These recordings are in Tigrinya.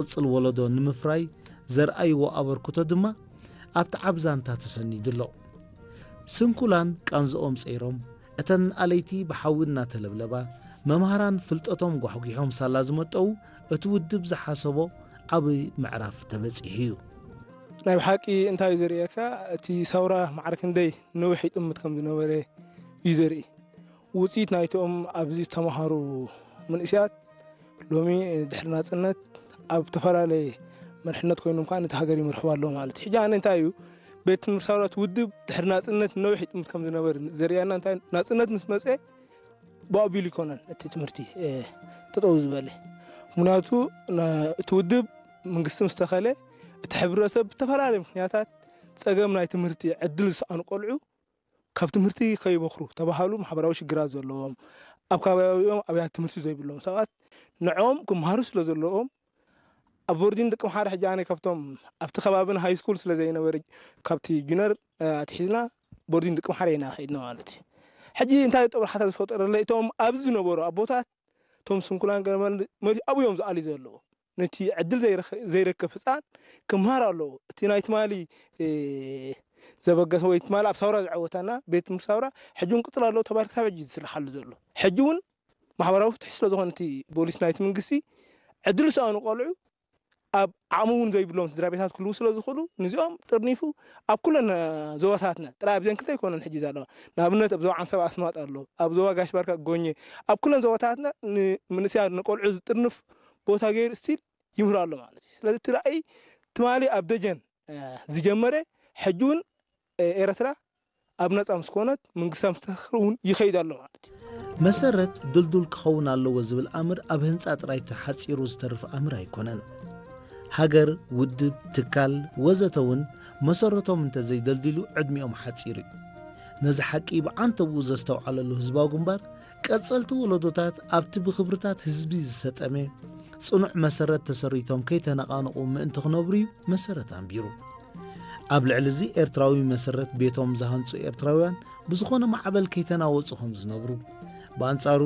ዝቕጽል ወለዶ ንምፍራይ ዘርኣይዎ ኣበርክቶ ድማ ኣብቲ ዓቢ ዛንታ ተሰኒዱ ኣሎ። ስንኩላን ቃንዝኦም ጸይሮም፣ እተን ኣለይቲ ብሓዊ እናተለብለባ፣ መምሃራን ፍልጠቶም ጓሕጒሖም ሳላ ዝመጠዉ፣ እቲ ውድብ ዝሓሰቦ ዓቢ ምዕራፍ ተበጺሑ እዩ። ናይ ብሓቂ እንታይ እዩ ዘርእየካ? እቲ ሰውራ ማዕረ ክንደይ ነዊሕ ይጥምት ከም ዝነበረ እዩ ዘርኢ። ውጽኢት ናይቶም ኣብዚ ዝተማሃሩ መንእሰያት ሎሚ ድሕሪ ናጽነት ኣብ ዝተፈላለየ መርሕነት ኮይኖም ከኣ ነቲ ሃገር ይመርሕዋ ኣለዉ ማለት እዩ። ሕጂ ኣነ እንታይ እዩ፣ ቤት ትምህርቲ ሰውራ እቲ ውድብ ድሕሪ ናጽነት ነዊሕ ይጥምት ከም ዝነበረ ዘርእየና እንታይ፣ ናጽነት ምስ መጸ ብኣቢሉ ይኮነን እቲ ትምህርቲ፣ እ፣ ጠጠው ዝበለ። ምክንያቱ ነ-፣ እቲ ውድብ መንግስቲ ምስ ተኸለ፣ እቲ ሕብረተሰብ ብተፈላለየ ምክንያታት ጸገም ናይ ትምህርቲ ዕድል ዝሰኣኑ ቆልዑ ካብ ትምህርቲ ከይበኽሩ ተባሃሉ፣ ማሕበራዊ ሽግራት ዘለዎም፣ ኣብ ከባቢኦም ኣብያተ ትምህርቲ ዘይብሎም ሰባት ንዕኦም ክመሃሩ ስለ ዘለዎም፣ ኣብ ቦርዲን ደቂ ምሓረ ሕጂ ኣነ ካብቶም ኣብቲ ከባቢና ሃይ ስኩል ስለ ዘይነበረ፣ ካብቲ ጁነር፣ እ፣ ኣትሒዝና ቦርዲን ደቂ ምሓረ ኢና ከይድና ማለት እዩ። ሕጂ እንታይ እዩ ጠብርሓታ ዝፈጠረለይ? እቶም ኣብዚ ዝነበሩ ኣቦታት፣ እቶም ስንኩላን ገመል መሊኡ ኣብኡ እዮም ዝኣልዩ ዘለዉ። ነቲ ዕድል ዘይረኸ-፣ ዘይረከብ ህፃን ክምሃር ኣለዎ። እቲ ናይ ትማሊ፣ እ፣ ዘበገሰ ወይ ትማሊ ኣብ ሳውራ ዝዓወታና ቤት ትምህርቲ ሳውራ ሕጂ እውን ቅፅል ኣለዎ ተባሂሉ ክሳብ ሕጂ ዝስራሓሉ ዘሎ። ሕጂ እውን ማሕበራዊ ፍትሒ ስለ ዝኾነ እቲ ፖሊሲ ናይቲ መንግስቲ ዕድል ዝሰኣኑ ቆልዑ ኣብ ዓቕሚ እውን ዘይብሎም ስድራ ቤታት ክህልዉ ስለ ዝኽእሉ፣ ነዚኦም ጥርኒፉ ኣብ ኩለን ዞባታትና፣ ጥራይ ኣብዘን ክልተ ኣይኮነን ሕጂ ዘለዋ። ንኣብነት ኣብ ዞባ ዓንሰባ ኣስማጥ ኣሎ፣ ኣብ ዞባ ጋሽ ባርካ ጎኘ፣ ኣብ ኩለን ዞባታትና ንምንእሰያት ንቆልዑ ዝጥርንፍ ቦታ ገይሩ ስቲል ይምህር ኣሎ ማለት እዩ። ስለዚ እቲ ራእይ ትማሊ ኣብ ደጀን፣ እ፣ ዝጀመረ ሕጂ እውን፣ እ፣ ኤረትራ ኣብ ነጻ ምስ ኮነት፣ መንግስታ ምስ ተተኽለ እውን ይኸይድ ኣሎ ማለት እዩ። መሰረት ድልዱል ክኸውን ኣለዎ ዝብል ኣምር ኣብ ህንጻ ጥራይ ተሓጺሩ ዝተርፍ ኣምር ኣይኮነን። ሃገር፣ ውድብ፣ ትካል ወዘተ እውን መሰረቶም እንተዘይደልዲሉ ዕድሚኦም ሓጺር እዩ። ነዚ ሓቂ ብዓንተብኡ ዘስተውዓለሉ ህዝባዊ ግንባር፣ ቀጸልቲ ወለዶታት ኣብቲ ብኽብርታት ህዝቢ ዝሰጠመ ጽኑዕ መሰረት ተሰሪቶም ከይተነቓነቑ ምእንቲ ክነብሩ እዩ መሰረት ኣንቢሩ። ኣብ ልዕሊ እዚ ኤርትራዊ መሰረት ቤቶም ዝሃንጹ ኤርትራውያን ብዝኾነ ማዕበል ከይተናወጹ ከም ዝነብሩ፣ ብኣንጻሩ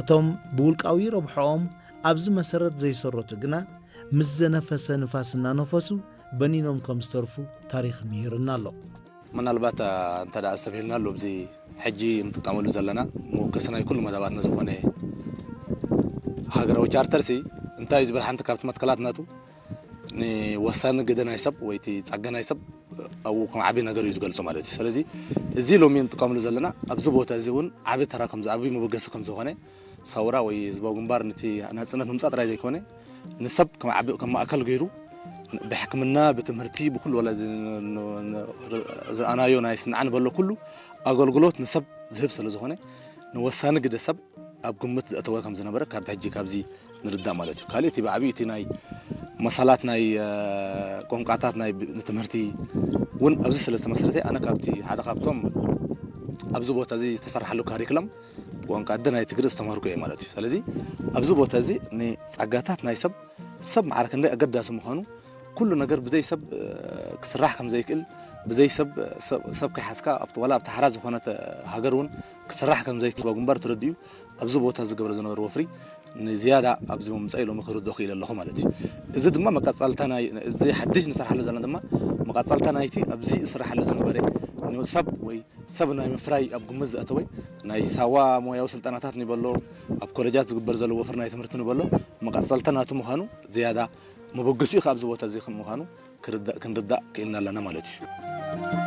እቶም ብውልቃዊ ረብሖኦም ኣብዚ መሰረት ዘይሰረቱ ግና ምስ ዘነፈሰ ንፋስ እናነፈሱ በኒኖም ከም ዝተርፉ ታሪኽ ምሂርና ኣሎ። ምናልባት፣ አ፣ እንተ ደኣ ኣስተብሂልና ኣሎ፣ ኣብዚ ሕጂ እንጥቀመሉ ዘለና መወከሲ ናይ ኩሉ መደባትና ዝኾነ ሃገራዊ ቻርተርሲ እንታይ እዩ ዝብል፣ ሓንቲ ካብቲ መትከላት ናቱ ንወሳኒ ግደ ናይ ሰብ ወይ እቲ ጸጋ ናይ ሰብ ኣብኡ ከም ዓቢ ነገር እዩ ዝገልጾ ማለት እዩ። ስለዚ እዚ ሎሚ እንጥቀመሉ ዘለና ኣብዚ ቦታ እዚ እውን ዓቢ ተራ ከም ዝዓቢ መበገሲ ከም ዝኾነ፣ ሰውራ ወይ ህዝባዊ ግንባር ነቲ ናጽነት ምምጻእ ጥራይ ዘይኮነ፣ ንሰብ ከም ዓቢ፣ ከም ማእከል ገይሩ ብሕክምና፣ ብትምህርቲ፣ ብኩሉ ወላ እዚ ን-፣ ን-፣ ን-፣ ዝረኣናዮ ናይ ስንዓ ንበሎ ኩሉ ኣገልግሎት ንሰብ ዝህብ ስለ ዝኾነ፣ ንወሳኒ ግደ ሰብ ኣብ ግምት ዘእተወ ከም ዝነበረ ካብ ሕጂ ካብዚ ንርዳእ ማለት እዩ። ካልእ እቲ ብዓቢኡ እቲ ናይ መሳላት ናይ፣ እ፣ ቋንቋታት ናይ ብ-፣ ንትምህርቲ እውን ኣብዚ ስለ ዝተመስረተ፣ ኣነ ካብቲ ሓደ ካብቶም ኣብዚ ቦታ እዚ ዝተሰርሓሉ ካሪክለም ብቋንቋ ኣደ ናይ ትግርስ ተማሃርኩ እየ ማለት እዩ። ስለዚ ኣብዚ ቦታ እዚ ንጸጋታት ናይ ሰብ፣ ሰብ ማዕረ ክንደይ ኣገዳሲ ምዃኑ፣ ኩሉ ነገር ብዘይ ሰብ፣ እ፣ ክስራሕ ከም ዘይክእል፣ ብዘይ ሰብ፣ ሰብ፣ ሰብ ከይሓዝካ ኣብቲ፣ ዋላ ኣብቲ ሓራ ዝኾነት ሃገር እውን ክስራሕ ከም ዘይክእል ግንባር ተረዲኡ ኣብዚ ቦታ ዝገብረ ዝነበረ ወፍሪ ንዝያዳ ኣብዚ ምምጻእ ሎሚ ክርድኦ ክኢለ ኣለኹ ማለት እዩ። እዚ ድማ መቀጻልታ ናይ፣ እዚ ሓድሽ ንሰርሓሉ ዘለና ድማ መቀጻልታ ናይቲ ኣብዚ ዝስራሓሉ ዝነበረ ንሰብ ወይ ሰብ ናይ ምፍራይ ኣብ ግምት ዘእተወ ናይ ሳዋ ሞያዊ ስልጠናታት ንበሎ፣ ኣብ ኮሌጃት ዝግበር ዘሎ ወፍሪ ናይ ትምህርቲ ንበሎ፣ መቐጸልታ ናቱ ምዃኑ ዝያዳ መበገሲኡ ከኣ ኣብዚ ቦታ እዚ ከም ምዃኑ ክርዳእ፣ ክንርዳእ ክኢልና ኣለና ማለት እዩ።